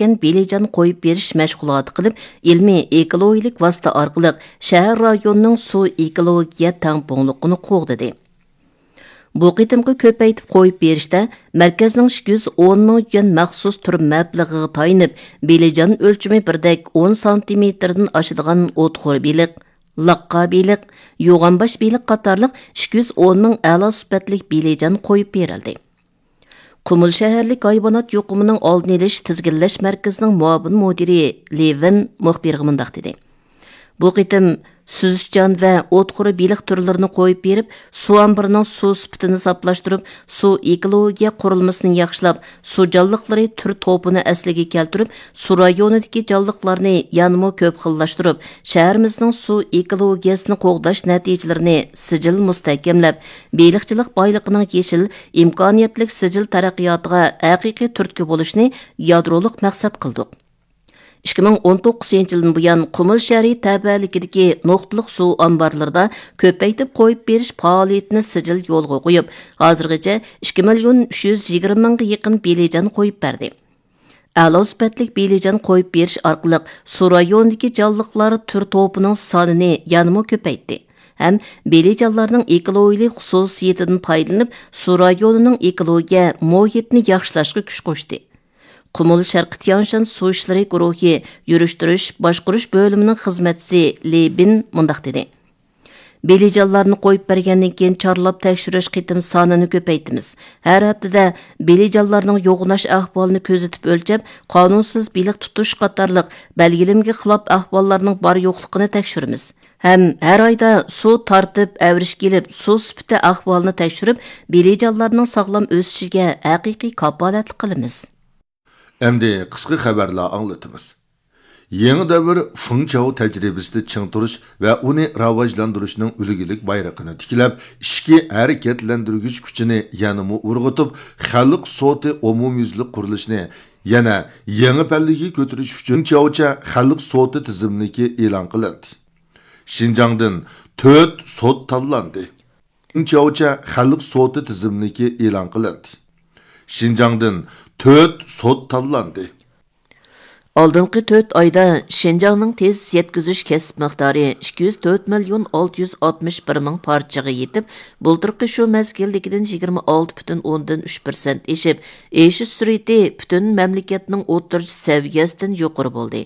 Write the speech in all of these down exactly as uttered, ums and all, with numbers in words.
بېلىجان قويۇپ بېرىش مەشغۇلاتى قىلىپ، ئىلمىي ئېكولوگىيەلىك ۋاسىتە ئارقىلىق شەھەر رايونىنىڭ سۇ ئېكولوگىيە تەڭپۇڭلۇقىنى قوغدىدى. بۇ قېتىمقى كۆپەيتىپ قويۇپ بېرىشتە مەركەزنىڭ ئىككى يۈز ئون مىڭ يۈەن مەخسۇس تۈر مەبلىغىغا تايىنىپ، بېلىجان ئۆلچىمى بىردەك ئون سانتىمېتىردىن ئاشىدىغان ئوتخور بېلىق، لاققا بېلىق، يوغانباش بېلىق قاتارلىق ئىككى يۈز ئون مىڭ ئەلا سۈپەتلىك بېلىجان قويۇپ بېرىلدى. قۇمۇل شەھەرلىك ھايۋانات يۇقۇمىنىڭ ئالدىنى ئېلىش تىزگىنلەش مەركىزىنىڭ مۇئاۋىن مۇدىرى لېۋىن مۇخبىرغا مۇنداق دېدى: بۇ قېتىم سۈزۈشچان ۋە ئوتخور بېلىق تۈرلىرىنى قويۇپ بېرىپ، سۇ ئامبىرىنىڭ سۇ سۈپىتىنى ساپلاشتۇرۇپ، سۇ ئېكولوگىيە قۇرۇلمىسىنى ياخشىلاپ، سۇ جانلىقلىرى تۈر توپىنى ئەسلىگە كەلتۈرۈپ، سۇ رايونىدىكى جانلىقلارنى يەنىمۇ كۆپ خىللاشتۇرۇپ، شەھىرىمىزنىڭ سۇ ئېكولوگىيەسىنى قوغداش نەتىجىلىرىنى سىجىل مۇستەھكەملەپ، بېلىقچىلىق بايلىقىنىڭ يېشىل، ئىمكانىيەتلىك سىجىل تەرەققىياتىغا ھەقىقىي تۈرتكە بولۇشنى يادرولۇق مەقسەت قىلدۇق. ئىككى مىڭ ئون توققۇزىنچى يىلدىن بۇيان، قۇمۇل شەھىرى تەۋەلىكىدىكى نۇقتىلىق سۇ ئامبارلىرىدا كۆپەيتىپ قويۇپ بېرىش پائالىيىتىنى سىجىل يولغا قويۇپ، ھازىرغىچە ئىككى مىليون ئۈچ يۈز يىگىرمە مىڭغا يېقىن بېلىجان قويۇپ بەردى. ئەلا سۈپەتلىك بېلىجان قويۇپ بېرىش ئارقىلىق سۇ رايونىدىكى جانلىقلار تۈر توپىنىڭ سانىنى يەنىمۇ كۆپەيتتى ھەم بېلىجانلارنىڭ ئېكولوگىيەلىك خۇسۇسىيىتىدىن پايدىلىنىپ، سۇ رايونىنىڭ ئېكولوگىيە مۇھىتىنى ياخشىلاشقا كۈچ قوشتى. قۇمۇل شەرقىي تيانشان سۇ ئىشلىرى گۇرۇھى يۈرۈشتۈرۈش، باشقۇرۇش بۆلۈمىنىڭ خىزمەتچىسى لى بىن مۇنداق دېدى: بېلىجانلارنى قويۇپ بەرگەندىن كېيىن، چارلاپ تەكشۈرۈش قېتىم سانىنى كۆپەيتىمىز. ھەر ھەپتىدە بېلىجانلارنىڭ يوغىناش ئەھۋالىنى كۆزىتىپ ئۆلچەپ، قانۇنسىز بېلىق تۇتۇش قاتارلىق بەلگىلىمىگە خىلاپ ئەھۋاللارنىڭ بار يوقلۇقىنى تەكشۈرىمىز. ھەم ھەر ئايدا سۇ تارتىپ، ئەۋرىشكە ئېلىپ، سۇ سۈپىتى ئەھۋالىنى تەكشۈرۈپ، بېلىجانلارنىڭ ساغلام ئۆسۈشىگە ھەقىقىي كاپالەتلىك قىلىمىز. ئەمدى قىسقا خەۋەرلەر ئاڭلىتىمىز. يېڭى دەۋر فېڭچياۋ تەجرىبىسىدە چىڭ تۇرۇش ۋە ئۇنى راۋاجلاندۇرۇشنىڭ ئۈلگىلىك بايرىقىنى تىكلەپ، ئىچكى ھەرىكەتلەندۈرگۈچ كۈچىنى يەنىمۇ ئۇرغۇتۇپ، خەلق سوتى ئومۇميۈزلۈك قۇرۇلۇشىنى يەنە يېڭى پەللىگە كۆتۈرۈش ئۈچۈن فېڭچياۋچە خەلق سوتى تىزىملىكى ئېلان قىلىندى. شىنجاڭدىن تۆت سوت تاللاندى. فېڭچياۋچە خەلق سوتى تىزىملىكى ئېلان قىلىندى. شىنجاڭدىن تۆت سوت تاللاندى. ئالدىنقى تۆت ئايدا شىنجاڭنىڭ تېز يەتكۈزۈش كەسىپ مىقدارى ئىككى يۈز تۆت مىليون ئالتە يۈز ئاتمىش بىر مىڭ پارچىغا يېتىپ، بۇلتۇرقى شۇ مەزگىلدىكىدىن يىگىرمە ئالتە پۈتۈن ئوندىن ئۈچ پىرسەنت ئېشىپ، ئېشىش سۈرئىتى پۈتۈن مەملىكەتنىڭ ئوتتۇرىچە سەۋىيەسىدىن يۇقىرى بولدى.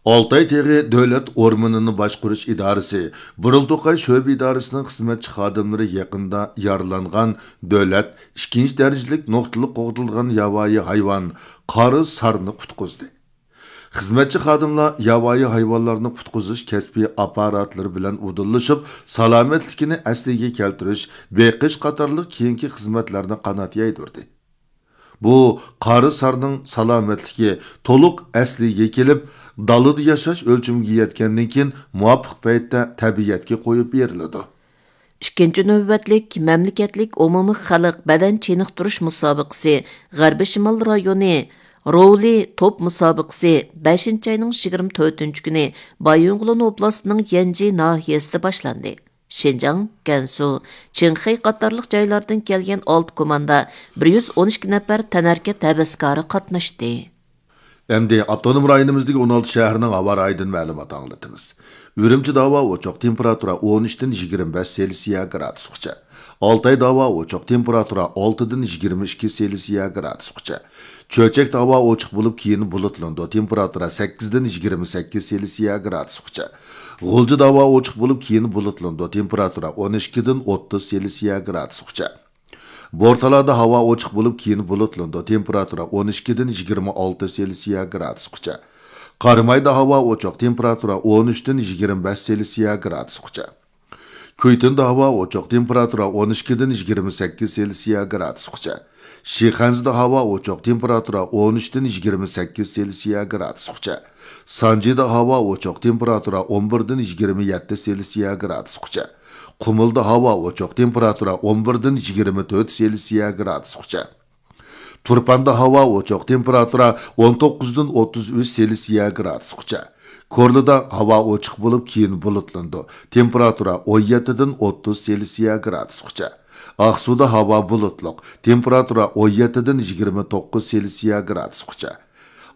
ئالتاي تېغى دۆلەت ئورمىنىنى باشقۇرۇش ئىدارىسى، بۇرۇلتۇقاي شۆبە ئىدارىسىنىڭ خىزمەتچى خادىملىرى يېقىندا يارىلانغان دۆلەت ئىككىنچى دەرىجىلىك نۇقتىلىق قوغدىلىدىغان ياۋايى ھايۋان قارا سارنى قۇتقۇزدى. خىزمەتچى خادىملار ياۋايى ھايۋانلارنى قۇتقۇزۇش كەسپىي ئاپپاراتلىرى بىلەن ئۇدۇللىشىپ، سالامەتلىكىنى ئەسلىگە كەلتۈرۈش، بېقىش قاتارلىق كېيىنكى خىزمەتلەرنى قانات يايدۇردى. بۇ قارا سارنىڭ سالامەتلىكى تولۇق ئەسلىگە كېلىپ، دالىدا ياشاش ئۆلچىمىگە يەتكەندىن كېيىن، مۇۋاپىق پەيتتە تەبىئەتكە قويۇپ بېرىلىدۇ. ئىككىنچى نۆۋەتلىك مەملىكەتلىك ئومۇمىي خەلق بەدەن چېنىقتۇرۇش مۇسابىقىسى غەربىي شىمال رايونى روۋلى توپ مۇسابىقىسى بەشىنچى ئاينىڭ يىگىرمە تۆتىنچى كۈنى بايىنغولىن ئوبلاستىنىڭ يەنجى ناھىيەسىدە باشلاندى. شىنجاڭ، گەنسۇ، چىڭخەي قاتارلىق جايلاردىن كەلگەن ئالتە كوماندا، بىر يۈز ئون ئىككى نەپەر تەنھەرىكەت ھەۋەسكارى قاتناشتى. ئەمدى ئاپتونوم رايونىمىزدىكى ئون ئالتە شەھەرنىڭ ھاۋا رايىدىن مەلۇمات ئاڭلىتىمىز. ئۈرۈمچىدە ھاۋا ئوچۇق، تېمپېراتۇرا ئون ئۈچتىن يىگىرمە بەش سېلسىيە گرادۇسقىچە. ئالتايدا ھاۋا ئوچۇق، تېمپېراتۇرا ئالتىدىن يىگىرمە ئىككى سېلسىيە گرادۇسقىچە. چۆچەكتە ھاۋا ئوچۇق بولۇپ، كېيىن بۇلۇتلىنىدۇ، تېمپېراتۇرا سەككىزدىن يىگىرمە سەككىز سېلسىيە گرادۇسقىچە. غۇلجىدا ھاۋا ئوچۇق بولۇپ، كېيىن بۇلۇتلىنىدۇ، تېمپېراتۇرا ئون ئىككىدىن ئوتتۇز سېلسىيە گرادۇسقىچە. بورتالادا ھاۋا ئوچۇق بولۇپ، كېيىن بۇلۇتلىنىدۇ، تېمپېراتۇرا ئون ئىككىدىن يىگىرمە ئالتە سېلسىيە گرادۇسقىچە. قارامايدا ھاۋا ئوچۇق، تېمپېراتۇرا ئون ئۈچتىن يىگىرمە بەش سېلسىيە گرادۇسقىچە. كۈيتۇندا ھاۋا ئوچۇق، تېمپېراتۇرا ئون ئىككىدىن يىگىرمە سەككىز سېلسىيە گرادۇسقىچە. شىخەنزىدە ھاۋا ئوچۇق، تېمپېراتۇرا ئون ئۈچتىن يىگىرمە سەككىز سېلسىيە گرادۇسقىچە. سانجىدا ھاۋا ئوچۇق، تېمپېراتۇرا ئون بىردىن يىگىرمە يەتتە سېلسىيە گرادۇسقىچە. قۇمۇلدا ھاۋا ئوچۇق، تېمپېراتۇرا ئون بىردىن يىگىرمە تۆت سېلسىيە گرادۇسقىچە. تۇرپاندا ھاۋا ئوچۇق، تېمپېراتۇرا ئون توققۇزدىن ئوتتۇز ئۈچ سېلسىيە گرادۇسقىچە. كورلىدا ھاۋا ئوچۇق بولۇپ، كېيىن بۇلۇتلىنىدۇ، تېمپېراتۇرا ئون يەتتىدىن ئوتتۇز سېلسىيە گرادۇسقىچە. ئاقسۇدا ھاۋا بۇلۇتلۇق، تېمپېراتۇرا ئون يەتتىدىن يىگىرمە توققۇز سېلسىيە گرادۇسقىچە.